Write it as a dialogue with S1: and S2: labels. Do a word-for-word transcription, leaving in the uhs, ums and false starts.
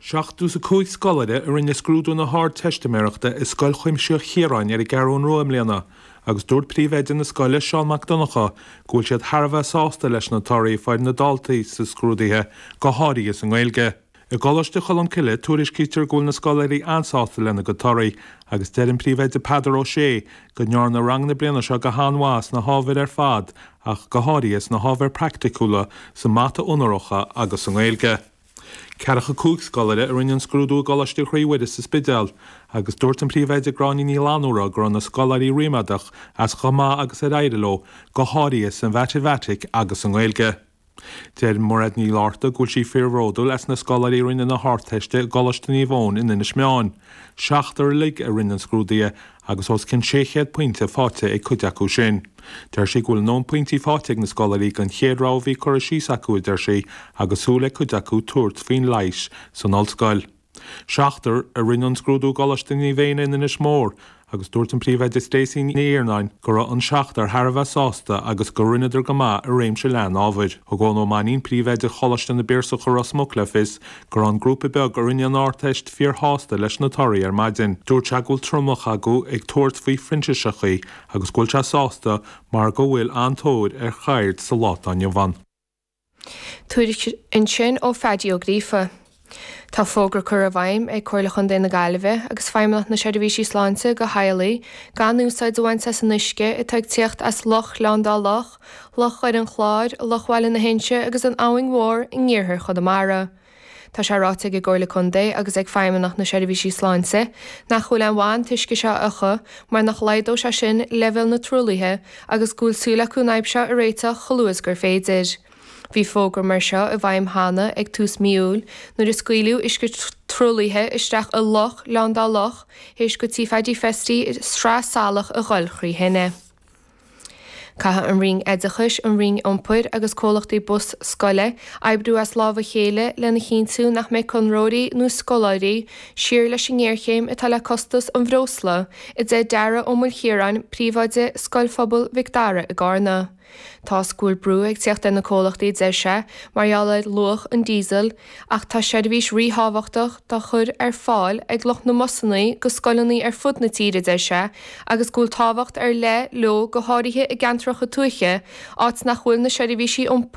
S1: Seachtó is a cúig scoláire a rinne scrúdú na hArdteistiméireachta i Scoil Chuimsitheach Chiaráin ar an gCeathrú Rua i mbliana, agus dúirt príomhoide na scoile Seán Mac Donncha go bhfuil siad thar a bheith sásta leis na torthaí a fuair na daltaí sa scrúduithe go háirithe sa nGaeilge. I gColáiste Cholmcille tuairiscítear go bhfuil na scoláirí an-sásta lena gcuid torthaí, agus deir an príomhoide Peadar Ó Sé go ndearna rang na bliana seo go han-mhaith sna hábhair ar fad ach go háirithe sna hábhair praiticiúla sa mata onóracha agus sa nGaeilge. Ceathracha cúig scoláire a rinne an scrúdú i gColáiste Chroí Mhuire sa Spidéal, agus dúirt an príomhoide Gráinne Ní Fhlannúra go raibh na scoláirí ríméadach as chomh maith agus ar éirigh leo, go háirithe sa mhatamaitic agus sa nGaeilge. Deir Mairéad Ní Fhlatharta go bhfuil sí fíorbhródúil as na scoláirí a rinne na hArdteiste i gColáiste Naomh Eoin in Inis Meáin. Seachtar uilig a rinne an scrúduithe agus os cionn sé chéad pointe faighte ag cuid acu sin. Deir sí go bhfuil a ndóthain pointí faighte ag na scoláirí don chéad rogha a bhí curtha síos acu, a deir sí, agus súil ag cuid acu tabhairt faoin leighis san ollscoil. Seachtar a rinne an scrúdú i gColáiste Naomh Éanna in Inis Mór agus dúirt an príomhoide Stacey Ní Iarnáin go raibh an seachtar thar a bheith sásta agus go rinneadar go maith i réimse leathan ábhair. Thug Eoin Ó Mainnín príomhoide Choláiste na bPiarsach i Ros Muc le fios go raibh an grúpa beag a rinne an Ardteist fíorshásta leis na torthaí ar maidin. Dúirt sé go bhfuil tromlach acu ag tabhairt faoi phrintíseachtaí agus go bhfuil sé sásta mar go bhfuil an-tóir ar cheird sa lá atá inniu ann.
S2: Tuairisc ansin ó Phaidí Ó Gríofa. Tá fógra curtha i bhfeidhm ag Comhairle Chontae na Gaillimhe agus Feidhmeannacht na Seirbhísí Sláinte do theaghlaigh gan úsáid a bhaint as an uisce atá ag tíocht as Loch Ghleann Dá Loch, Loch Dhoire an Chláir, Loch Bhaile na hInse agus an Abhainn Mhór in iarthar Chonamara. Tá sé ráite ag an gComhairle Contae agus ag Feidhmeannacht na Seirbhísí Sláinte nach bhfuil aon mhaith an t-uisce seo a fhiuchadh mar nach laghdódh sé sin leibhéal na truaillithe agus go bhfuil súil acu an fhadhb seo a réiteach chomh luath is gur féidir. Bhí fógra mar seo i bhfeidhm cheana ag tús mí Iúil nuair a scaoileadh uisce truaillithe isteach i Loch Ghleann Dá Loch théis go Tí Phaddy Festy sraith salach a dhul trí thine. Caithfidh an Roinn Oideachais, an Roinn Iompair agus comhlachtaí bus scoile oibriú as lámh a chéile lena chinntiú nach mbeidh conróirí nó scoláirí siar leis an ngéarchéim atá le costas an bhreosla, a deir Dara Ó Maoilchiaráin, príomhoide Scoil Phobail Mhic Dara i gCarna. Tá go bhfuil brú ag teacht ar na comhlachtaí deir sé mar gheall ar luach an diesel ach tá seirbhís ríthábhachtach dá chur ar fáil ag lucht na mbusanna go scoileanna ar fud na tíre deir sé agus go bhfuil tábhacht ar leith leo go háirithe i gceantracha tuaithe áit nach bhfuil na seirbhísí iompair